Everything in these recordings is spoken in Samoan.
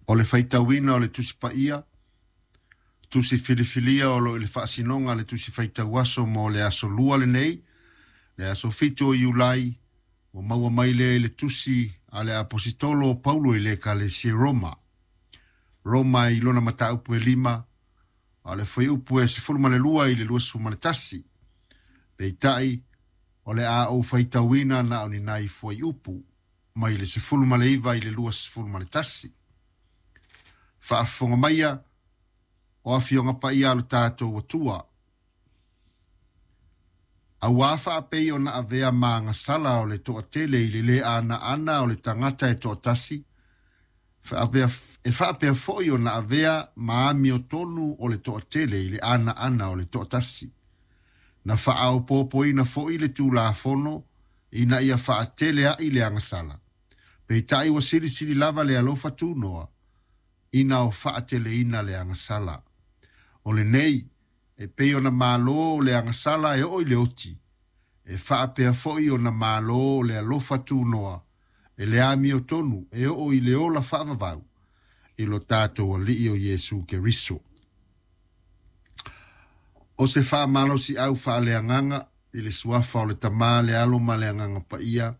O le faitauina o le Tusi Paia, Tusi filifilia o lo o i le faasinoga a le Tusi Faitau Aso mo le Aso Lua lenei, le aso 7 o Iulai, ua maua mai lea i le Tusi a le Apositolo o Paulo i le Ekalesia i Roma. Roma i lona mataupu e 5, a o le fuaiupu e 12 i le 21. Peitai, o le a ou faitauina na o ni nai fuaiupu mai le 19 i le 21. Faafofoga maia o afioga paia a lo tatou Atua. Auā faapei ona avea ma agasala o le toatele i le lē anaana o le tagata e toatasi, e faapea foi ona avea ma amiotonu o le toatele i le anaana o le toatasi. Na faaopoopoina foi le Tulafono ina ia faatele a'i le agasala. Peitai ua silisili lava le alofa tunoa ina o faateleina le agasala. O lenei, e pei ona malo le agasala e oo i le oti, e faapea foi ona malo le alofa tunoa e le amiotonu e oo i le ola faavavau i lo tatou Alii o Iesu Keriso. O se faamalosiau faaleagaga i le suafa o le Tama, le Alo ma le Agaga Paia.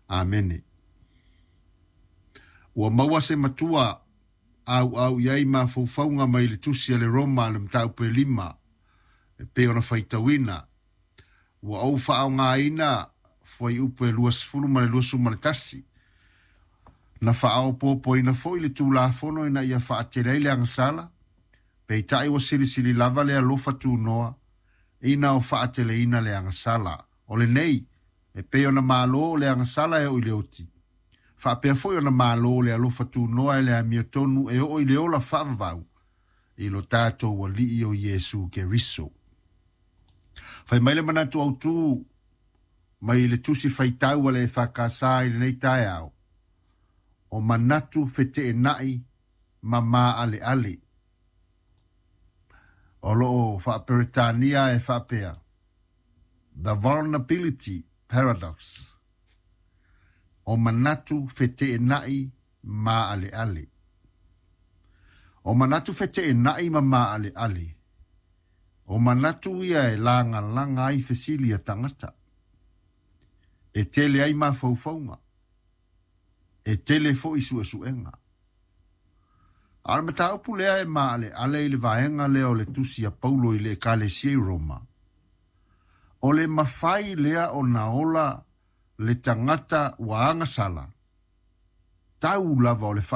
Amene. Ua maua se matua auau i ai mafaufauga mai le Tusi a le Roma le mataupu e 5 e pei ona faitauina. Ua ou faaaogaina fuaiupu e 20 ma le 21. Na faaopoopoina foi le Tulafono ina ia faatele ai le agasala, peitai ua silisili lava le alofa tunoa ina o faateleina le agasala. O lenei, e pei ona malo le agasala e oo i le oti, faapea foi ona malo le alofa tunoa e le amiotonu e oo i le ola faavavau i lo tatou Alii o Iesu Keriso. Fai mai le manatu autū mai le Tusi Faitau a le EFKS i lenei taeao, o manatu feteenai ma maaleale. O loo faaperetania e faapea, The Vulnerability Paradox. O manatu feteenai maaleale. O manatu feteenai ma maaleale. O manatu ia e lagalaga ai fesili a tagata. E tele ai mafaufauga. E tele foi suesuega. A o le mataupu lea e maaleale i le vaega lea o le Tusi a Paulo i le Ekalesia i Roma, o le mafai lea ona ola le tagata ua agasala, tau lava o le